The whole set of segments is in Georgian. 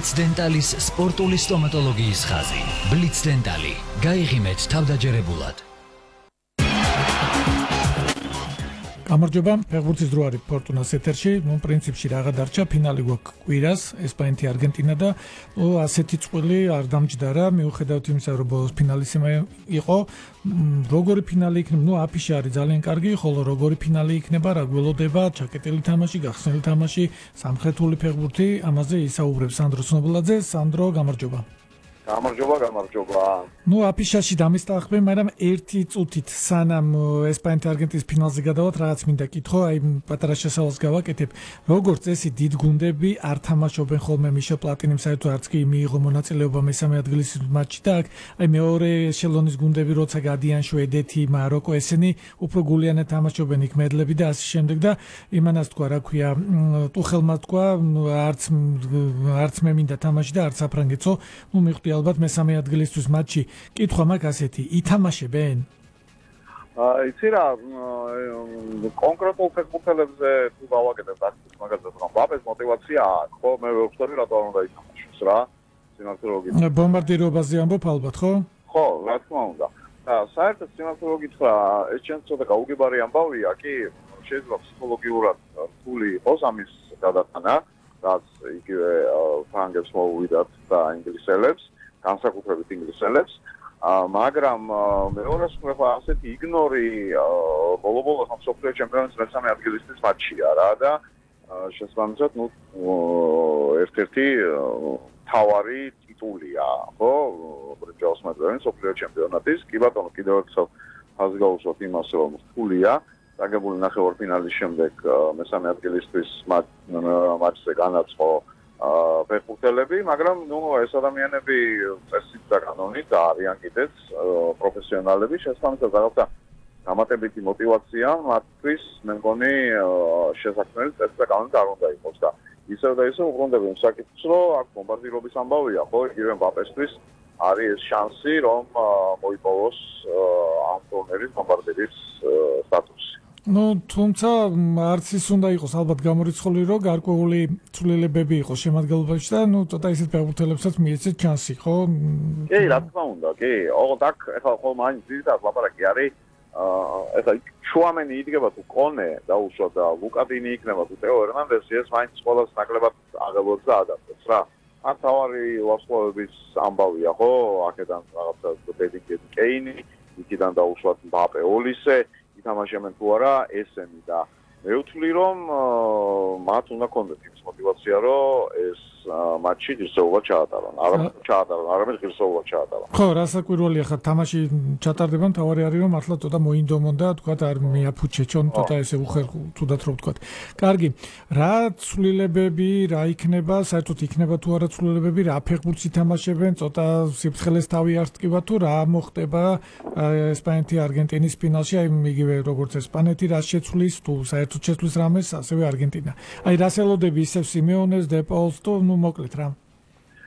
Blitz Dentalis სპორტული სტომატოლოგიის ხაზი. Blitz Dentali. გაიღიმეთ თავდაჯერებულად. გამარჯობა, ფეხბურთის დრო არის ფორტუნას ეთერში. პრინციპში რაღა დარჩა, ფინალი გვაქვს კვირას, ესპანეთი არგენტინა და ასეთი წყვილი არ დამჯდარა, მიუხედავად იმისა, რომ ბოლოს ფინალისიმე იყო. როგორი ფინალი იქნება? აფიში არის ძალიან კარგი, ხოლო როგორი ფინალი იქნება, რა გველოდება, ჩაკეტილი თამაში, გახსნილი თამაში, სამხრეთული ფეხბურთი, ამაზე ისაუბრებს სანდრო ცნობილაძე. სანდრო, გამარჯობა. გამარჯობა. აფიშაში დამისტახბე, მაგრამ ერთი წუთით სანამ ესპანეთი არგენტინის ფინალზე გადავალთ, რაღაც მინდა კითხო, აი პატარა შესავალს გავაკეთებ. როგორც წესი, დიდ გუნდები არ თამაშობენ ხოლმე მიშელ პლატინიმ საერთოდ არც კი მიიღო მონაწილეობა მესამე ადგილის მატჩში და აი მეორე ეშელონის გუნდები როცა გადიან შვედეთი, მაროკო, ესენი უფრო გულიანად თამაშობენ იქ მედლები და ასე შემდეგ და იმანას თქვა, რა ქვია, ტუხელმა თქვა, არც მე მინდა თამაში და არც საფრანგეთო, მივხვდი ალბათ მესამე ადგილისთვის მატჩი. კითხვა მაქვს ასეთი, ითამაშებენ? იცი რა, კონკრეტულ ფეხბურთელებზე თუ გავაკეთებ აქ მაგაზე რომ ბაბეს მოტივაცია აქვს, ხო, მე ვეუბნები რატო არ უნდა ითამაშოს რა, სიმართლეობით. ბომბარდირებაზე ამბობ ალბათ, ხო? ხო, რა თქმა უნდა. და საერთოდ სიმართლეობით რა, ეს ჩემს ცოტა გაუგებარი ამბავია, კი, შეიძლება ფსიქოლოგიურად რთული იყოს ამის გადატანა, რაც იგივე ფრანგებს მოუვიდათ და ინგლისელებს, განსაკუთრებით ინგლისელებს. მაგრამ მეორეს მხრივ ასეთი იგნორი ბოლო-ბოლოს მსოფლიო ჩემპიონატის მესამე ადგილისთვის მატჩია რა და შესაბამისად ერთ-ერთი თავარი ტიტულია, ხო? ბრინჯაოს მედლების მსოფლიო ჩემპიონატის. კი ბატონო, კიდევ ერთხელ ხაზი გაუსვათ იმას, რომ რთულია დაგებული ნახევარფინალის შემდეგ მესამე ადგილისთვის მატჩზე განაცხო ფეხბურთელები, მაგრამ ეს ადამიანები წესით და კანონით არიან კიდეც პროფესიონალები, შესაბამისად რაღაცა დამატებითი მოტივაცია მათთვის, მე მგონი შესაქმნელი წესით და კანონით არ უნდა იყოს და ისევ და ისევ უბრუნდები იმ საკითხს, რომ აქ ბომბარდირობის ამბავია, ხო, იგივე მბაპესთვის არის ეს შანსი, რომ მოიპოვოს ამ ტურნირის ბომბარდირის სტატუსი. თუმცა არც ის უნდა იყოს ალბათ გამორიცხული, რომ გარკვეული ცვლილებები იყოს შემადგენლობაში და ცოტა ისეთ ფეხბურთელებსაც მიეცეთ ჩანსი, ხო? კი, რა თქმა უნდა, კი. ოღონდ აქ ეხლა ხო მაინც ძირითადად ლაპარაკი არის, ეხლა შუამენი იდგება თუ კონე დაუშვა და ლუკადინი იქნება თუ ტეო ერნანდესი, ეს მაინც ყველას ნაკლებად აღელვებს და ადაპტებს რა. აქ თავარი ვარსკვლავების ამბავია, ხო? აქედან რაღაცა ბედიკი კეინი, იქიდან დაუშვათ მბაპე ოლისე ითამაშებენ თუ არა ესენი და მე ვთვლი რომ მათ უნდა კონდეთ იმის მოტივაცია რომ ეს მატჩი ღირსეულად ჩაატარონ. არამედ ღირსეულად ჩაატარონ. ხო, რასაკვირველია ხა თამაში ჩატარდება, თავარი არის რომ მართლა ცოტა მოინდომონ და თქვათ არ მიაფუჩეჩონ, ცოტა ესე თუდად რომ ვთქვათ. კარგი, რა ცვლილებები, რა იქნება, საერთოდ იქნება თუ არა ცვლილებები, რა ფეხბურთს ითამაშებენ, ცოტა სიფრთხილეს თავი არ ტკივა თუ რა მოხდება ესპანეთი არგენტინის ფინალში, აი იგივე როგორც ესპანეთი რა შეცვლის, თუ საერთოდ შეცვლის რამეს, ასევე არგენტინა. აი რას ელოდები ისევ სიმეონეს, დეპოლს თუ მოკლედ რა.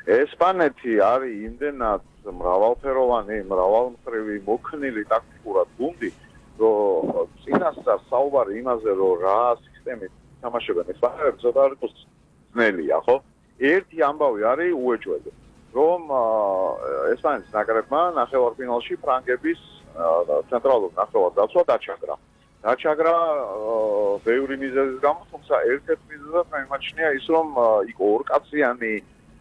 ესპანეთი არის იმდენად მრავალფეროვანი, მრავალმხრივი, მოქნილი ტაქტიკურად გუნდი, რომ წინასწარ საუბარი იმაზე, რომ რა სისტემით თამაშობენ ესპანელები, ცოტა არ იყოს ძნელია, ხო? ერთი ამბავი არის უეჭველი, რომ ესპანეთის ნაკრებმა ნახევარფინალში ფრანგების ცენტრალურ ნახევარდაცვა დაჩაგრა ბევრი მიზეზის გამო, თუმცა ერთ-ერთი მიზეზად მიმაჩნია ის, რომ იქ ორკაციანი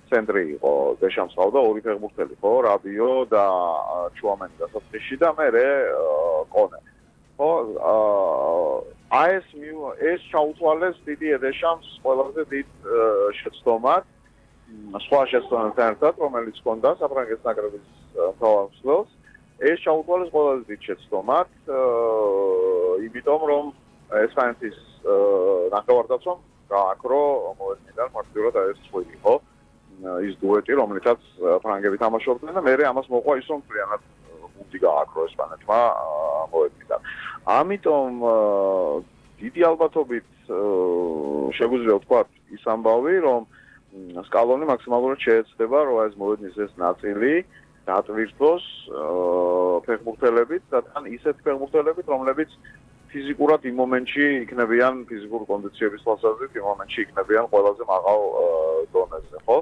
ცენტრი იყო, დეშამს ყავდა ორი ფეხბურთელი, ხო, რაბიო და ჩუამენი დასაწყისში და მერე კონე. ხო, ეს ჩაუთვალეს დიდიე დეშამს ყველაზე დიდ შეცდომად, სხვა შეცდომებთან ერთად, რომელიც ჰქონდა საფრანგეთის ნაკრების მთავარ ეს ჩაუთვალეს ყველაზე დიდ შეცდომად, იმიტომ რომ ესპანეთის ნახევარდაცვამ გააკრო მოედნიდან მარტივად ეს წვილი, ხო? ის დუეტი, რომელიცაც ფრანგები თამაშობდნენ და მერე ამას მოყვა ის, რომ მთლიანად გუნდი გააკრო ესპანეთმა მოედნიდან. ამიტომ დიდი ალბათობით შეგვიძლია ვთქვათ ის ამბავი, რომ სკალონი მაქსიმალურად შეეცდება, რომ ეს მოედნის ეს ნაწილი დატვირთოს ფეხბურთელებით და თან ისეთ ფეხბურთელებით, რომლებიც ფიზიკურად იმ მომენტში იქნებიან ფიზიკური კონდიციების თვალსაზრისით იმ მომენტში იქნებიან ყველაზე მაღალ დონეზე, ხო?